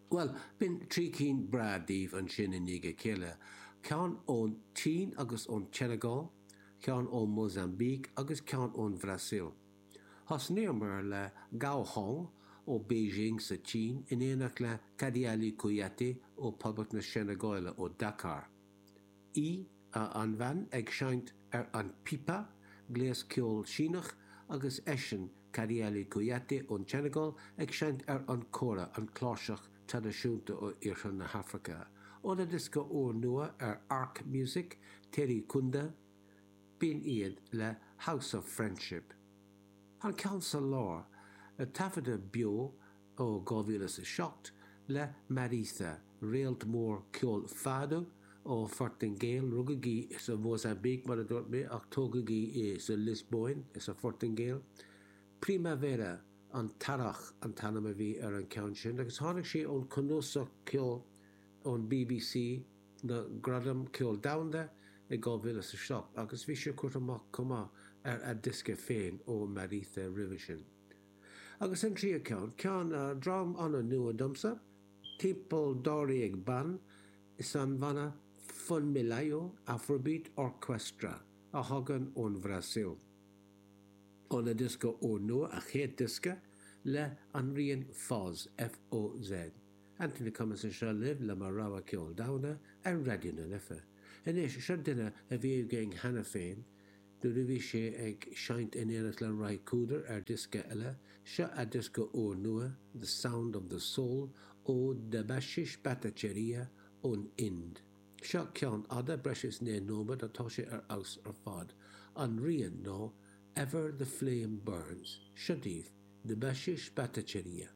Bhuel, b'in 3 cinn breá daoibh ansin i ndiaidh a chéile, ceann ón tSín agus ón tSeineagáil, ceann ó Mhozambique agus ceann ón Bhrasaíl. Thosnaíomar le Gao Hong ó Beijing sa tSín in éineacht le Kadialy Kouyaté ó Poblacht na Seineagáile ó Dakar. Í, an bhean, ag seinnt ar an pipa, gléas ceoil Síneach, agus eisean, Kadialy Kouyaté ón tSeineagáil, ag seinnt ar an kora, an chláirseach traidisiúnta ó iarthar na hAfraice. Óna diosca úrnua ar Ark Music, Teri Kunda, b'in iad le House of Friendship. An ceann sa lár, taifeadadh beo ó 2007 le Mariza, réalt mór ceoil fado ó Phortaingéil, rugadh í sa Mhósaimbíc mar a dúirt mé ach tógadh í sa Liospóin sa Phortaingéil. Primavera, an tEarrach, an t-ainm a bhí ar an cheann sin agus tháinig sí ón cnuasach ceoil ón bbc, na Gradaim Ceoil Domhanda i 2007 agus bhí sé curtha amach chomh maith ar a diosca féin ó Mariza roimhe sin. Agus an tríú ceann, ceann dream an-nua domsa, timpeall dáréag ban is an banna Funmilayo Afrobeat Orquestra a thagann ón Bhrasaíl. Óna diosca úrnua, a chéad diosca, le an rian Foz, F-O-Z. Anthony Cummins anseo libh le mo rogha ceol domhanda ar Raidió na Life. Anois, seo duine a bhí againn cheana féin nuair a bhí sé ag seinnt in éineacht le Ry Cooder ar diosca eile, seo a diosca úrnua, The Sound of the Soul, ó Debashish Bhattacharya ón Ind. Seo ceann fhada, breis is 9 nóiméad, atá sé ar fheabhas ar fad. An rian ná Ever the Flame Burns. Seo daoibh, Debashish Bhattacharya.